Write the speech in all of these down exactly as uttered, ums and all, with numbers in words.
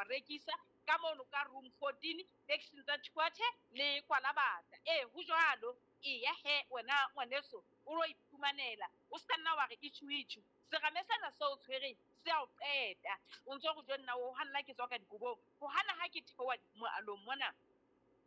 wa rekisa ka mono ka room fourteen taxing tsa Tshwathe le Kwalabata. Ee, ho jwalo. Eya he wena ngwaneso o lo iphumanela, o ska nna wa re itjhu itjhu. Serame sena seo o tshwereng se a o qeta. O ntso re jo nna o hanna ke tswa ka dikobong. Ho hana ha ke theoha moalong mona,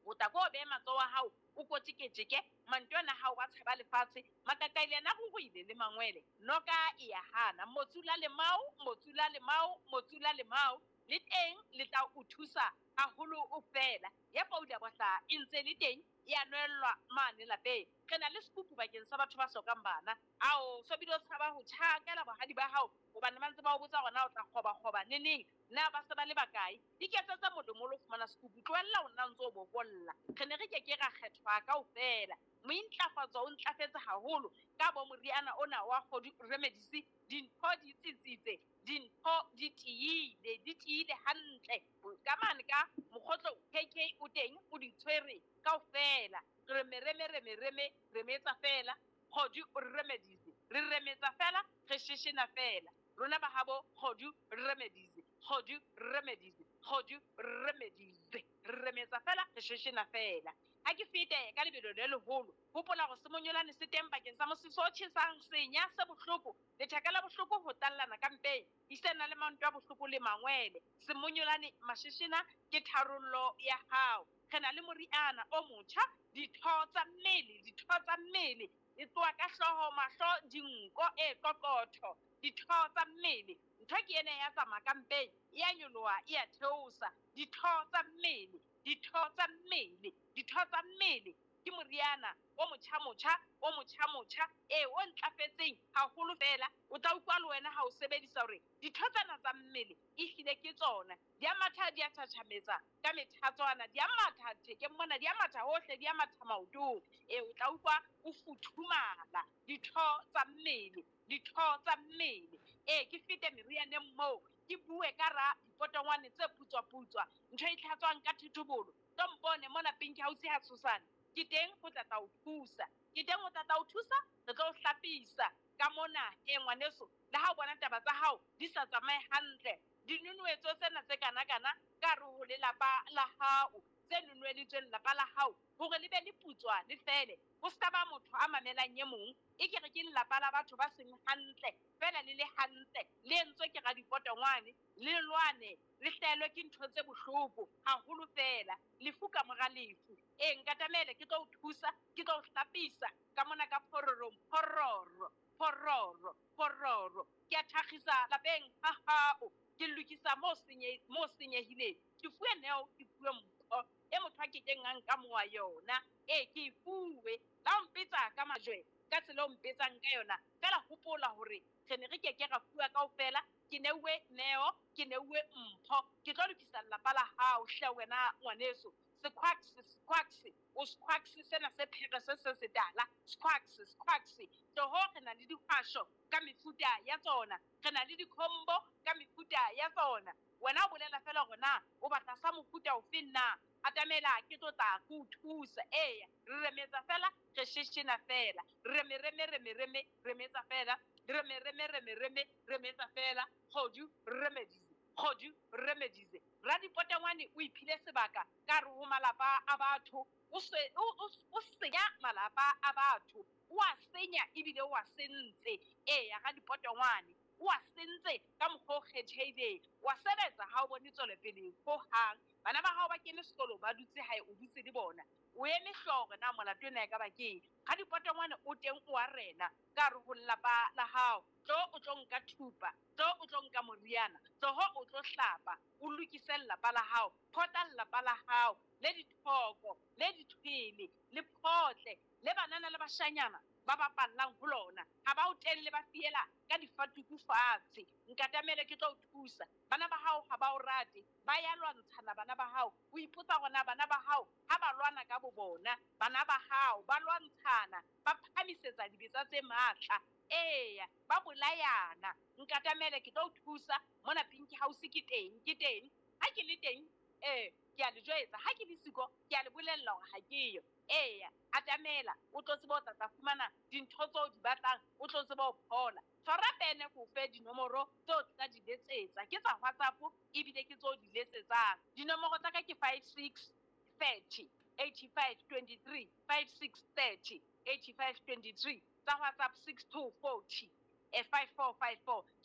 o tla ko o behe matsoho a hao o kotjeketjeke, mantswe ana hao wa tshaba lefatshe, makakaile ana a ruruhile le mangwele. Noka e ya hana, motsula lemao, motsula lemao, motsula lemao, le teng le tla o thusa haholo o fela. Ya paula bohla e ntse le teng, ya nwellwa mane lapeng. Re na le sekupu bakeng sa batho ba hlokang bana. Ao, so bile o tshaba ho tjhakela bohadi ba hao, hobane ba ntse ba o botsa hore na o tla kgoba-kgoba neneng, na ba se ba le bakae. Iketsetse molemo lo fumana sekupu, tlohella ho nna ntse o bokolla. Re ne re ke ke ra kgethwa kaofela. Mointlafatso o ntlafetse haholo ka bo moriana ona wa Kgodu Remedies. Dintho di tsitsitse, dintho di tiile, di tiile hantle. Ka mane ka mokgotlo K K o teng, o di tshwere kaofela. Re me, re me, re me, re me, re metsa fela. Kgodu Remedies, re remetsa fela, re sheshena fela. Rona ba habo Kgodu Remedies, Kgodu Remedies, Kgodu Remedies, re remetsa fela, re sheshena fela. Ha ke fete ka lebelo le leholo, hopola hore semonyolane se teng bakeng sa mosese o tjhesang, senya se bohloko, letheka la bohloko ho tallana ka mpeng, esitana le manto a bohloko le mangwele. Semonyolane masheshena ke tharollo ya hao. Re na le moriana o motjha, ditho tsa mmele, ditho tsa mmele, e tloha ka hlooho, mahlo, dinko, e qoqotho, ditho tsa mmele. Ntho ke ena ya tsamaya ka mpeng, e a nyoloha, e a theosa. Ditho tsa mmele, ditho tsa mmele, ditho tsa mmele ke moriana o motjha motjha, o motjha motjha, e o ntlafetseng haholo fela. O tla utlwa le wena ha o sebedisa hore ditho tsena tsa mmele ehlile ke tsona. Di a matha, di a tjhatjhametsa ka methatswana, di a matha thekeng mona, di a matha hohle, di a matha maotong. E, o tla utlwa o futhumala. Ditho tsa mmele, ditho tsa mmele. E, ke fete merianeng moo, ke bue ka ra dipotongwane tse putswa-putswa, ntho e tlhatswang ka thotobolo. Tlo mpone mona Pink House ha tshosane. Ke teng ho tla tla o thusa. Ke teng ho tla tla o thusa, re tlo o hlapisa ka mona. E, ngwaneso, le ha o bona taba tsa hao di sa tsamaye hantle, dinunwetso tsena tse kana-kana ka hare ho lelapa la hao, tse nunweditsweng lelapa la hao, hore le be le putswa le fele. Ho ska ba motho a mamelang e mong, e ke re ke lelapa la batho ba seng hantle, fela le le hantle, le entswe ke radipotongwane, le lwane, le hlahelwe ke ntho tse bohloko haholo fela, lefu ka mora lefu. E, nkatamele ke tlo o thusa, ke tlo o hlapisa ka mona ka phororong, phororo, phororo, phororo. Ke a thakgisa lapeng ha hao, ke lokisa mo senye-, mo senyehileng. Ke fuwe neo, ke fuwe mpho e motho a kekeng a nka mowa yona. E, ke e fuwe. La o mpetsa ka majwe, ka tsela o mpetsang ka yona. Fela hopola hore re ne re keke ra fuwa kaofela. Ke neuwe neo, ke neuwe mpho. Ke tlo lokisa lelapa la hao hle wena ngwaneso. Sekhwaksi, sekhwaksi, o sekhwaksi sena se phere se se setala. Sekhwaksi, sekhwaksi. Tloho re na le dihwasho ka mefuta ya tsona. Re na le dikhombo ka mefuta ya tsona. Wena o bolela fela hore na o batla sa mofuta ofe na. Atamela ke tlo tla ke o thusa. Eya, re remetsa fela, re sheshena fela. Reme, reme, reme, reme, remetsa fela. Reme, reme, reme, reme, remetsa fela. Kgodu Remedies, Kgodu Remedies. Radipotongwane o iphile sebaka ka hare ho malapa a batho. O se, o, o, o senya malapa a batho. O a senya ebile o a sentse. Eya, radipotongwane o a sentse ka mokgwa o kgethehileng. Wa sebetsa ha o bone tswelopele hohang. Bana ba hao ba kene sekolo, ba dutse hae, o dutse le bona. O eme hlooho hore na molato ena e ka ba keng. Radipotongwane o teng o a rena ka hare ho lelapa la hao. Tlo o tlo nka thupa, tlo o tlo nka moriana, tloho o tlo hlapa, o lokise lelapa la hao, phota lelapa la hao, le dithoko, le dithwele, le photle, le banana le bashanyana ba bapallang ho lona. Ha ba o telle ba fiela ka difatuku fatshe. Nkatamele ke tlo o thusa. Bana ba hao ha ba o rate, ba ya lwantshana bana ba hao. O ipotsa hore na bana ba hao ha ba lwana ka bo bona, bana ba hao ba lwantshana, ba phahamisetsa dibetsa tse matla. Eya, ba bolayana. Nkatamele ke tlo o thusa. Mona Pink House ke teng, ke teng. Ha ke le teng, eh, ke a le jwetsa. Ha ke le siko, ke a le bolella hore ha ke yo. Eya, atamela, o tlo tseba o tla tla fumana dintho tseo o di batlang, o tlo tseba ho phola. Tshwara pene ko fe dinomoro tseo tla di letsetsa. Ke tsa WhatsApp ebile ke tseo di letsetsang. Dinomoro tsa ka ke five six thirty eighty five twenty three five six thirty eighty five twenty three tsa WhatsApp six two forty five four five four. Ke